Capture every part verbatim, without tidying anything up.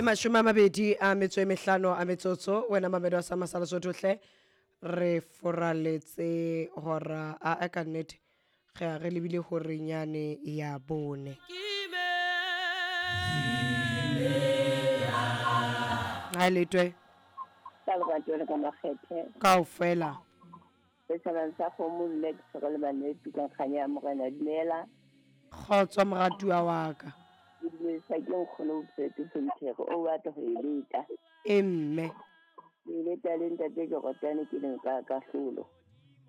Ke mashome a mabedi a metso e mehlano a metsotso wena mamedo a sa masala sothohle re foraletse hora a a ka nnete ge a re lebile hore nyane ya bone. Ha letwe ka lerato le ka makgethe kaofela. Setjhabeng sa kgomo le ke tshwere le banetsi ka kganya ya Morena. Dumela. Kgotso moratuwa wa ka. Ke dumedisa ke nkgono Bophete Fentere o batla ho e leta. E mme. Ke leta le ntate ke rotane ke leng ka kahlolo.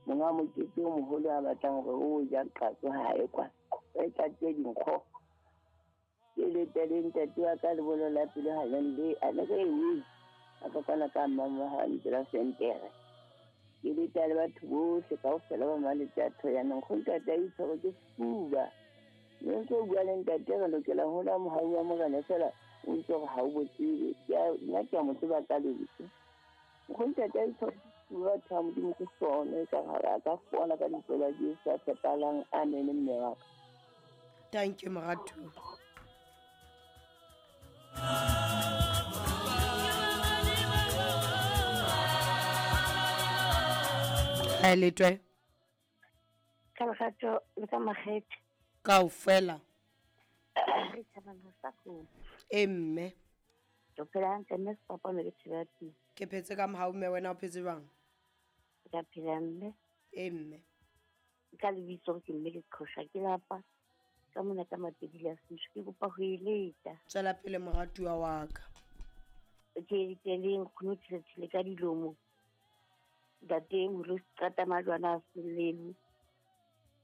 Monga mokete o moholo a batlang hore o ja qatso ha e kwa. E tlatse dinkgo. Ke leta le ntate wa ka lebolo la pele ha le le a le re e. A ka kwana ka mama ha ntse la Fentere. Ke leta le batho bohle kaofela ba maletse a thoyaneng go ntate a itshwere ke sefuba. Mme ntse o bua le ntate re lokela ho la mohau wa Morena fela o ntse hore ha o bo tsebe. Ke a nna ke a mo tseba ka lentswe. Go ntate a itshwere ke sefuba batho ba Modimo ke sone ka hare a ka fola ka lebitso la Jesu a tshepahalang. Amen mme wa ka. Thank you moratuwa. Ha letwe. Ka lerato le ka makgethe. Kaofela. Re thabana sa kgomo. E mme. Ke phela hantle mme sefapano ke thibela teng. Ke phetse ka mohau mme wena o phetse jwang? Ke a phela mme. E mme. Ka lebitso ke mme ke qhosha ke lapa. Ka mona ka Mapedi la Sesotho ke kopa ho e leta. Tswela pele moratuwa wa ka. Ke ke le nkgono thele ka dilomo. Ntate moholo qata majwana a selelwe.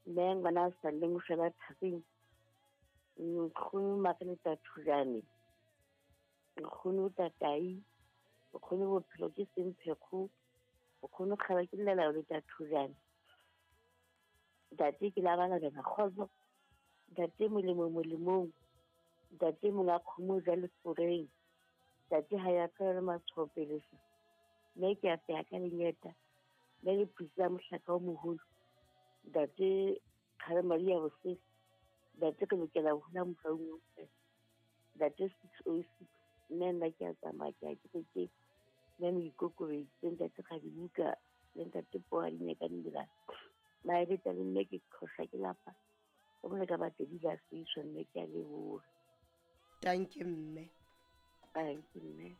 Mme ngwana a sa leng o sheba thapeng. Nkgono Makeleta Thujane. Nkgono Tatai. Nkgono bophelo ke semphekgo. Nkgono kgaba ke llela le Thujane. Ntate ke la bana bana kgotso. Ntate molemo molemong. Ntate monga kgomo ja leforeng. Ntate ha ya ka matshwao pele. Mme ke a peha ka lenyeta. Mme le phisa mohlaka o moholo. Ntate kgale madi ya bosese. Ntate ke lokela ho hula mohaung wa Morena. Ntate six oh six. Mme nna ke a tsamaya ke a kerekeng. Mme moikokobeditse ntate Kgadibuka le ntate Poa Dinyakane Dirang. Maeleta le mme ke qhosha ke lapa. Ka mona ka Mapedi la Sesotho mme ke a leboha. Thank you mme. Thank you mme.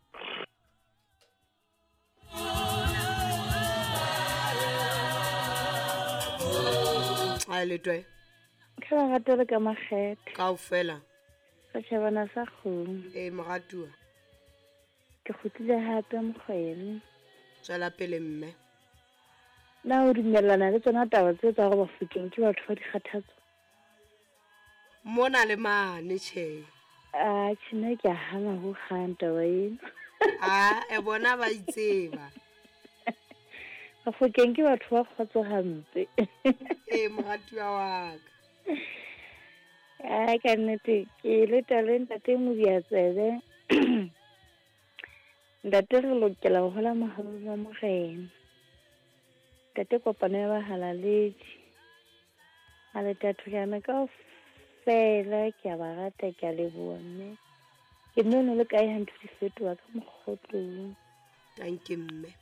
Ha letwe. Ka lerato le ka makgethe. Kaofela. Setjhabana sa kgomo. E moratuwa. Ke kgutlile hape mokgwele. Tswela pele mme. Na o dumellana le tsona taba tse tsa hore Bafokeng ke batho ba dikgathatso? Mona le mane tjhe. Ah, tjhe nna ke a hana ho hang taba ena. Ah, e bona ba itseba. Bafokeng ke batho ba kgotso hampe. E moratuwa wa ka. Ah, ka nnete ke leta le ntate Modiatsebe. Ntate re lokela ho hola mohau wa Morena. Ntate kopano ya bahalaledi. A le Thujane kaofela ke a ba rata ke a leboha mme. Ke nnono le kae ha ntho di fetoha ka mokgotlong. Thank you mme.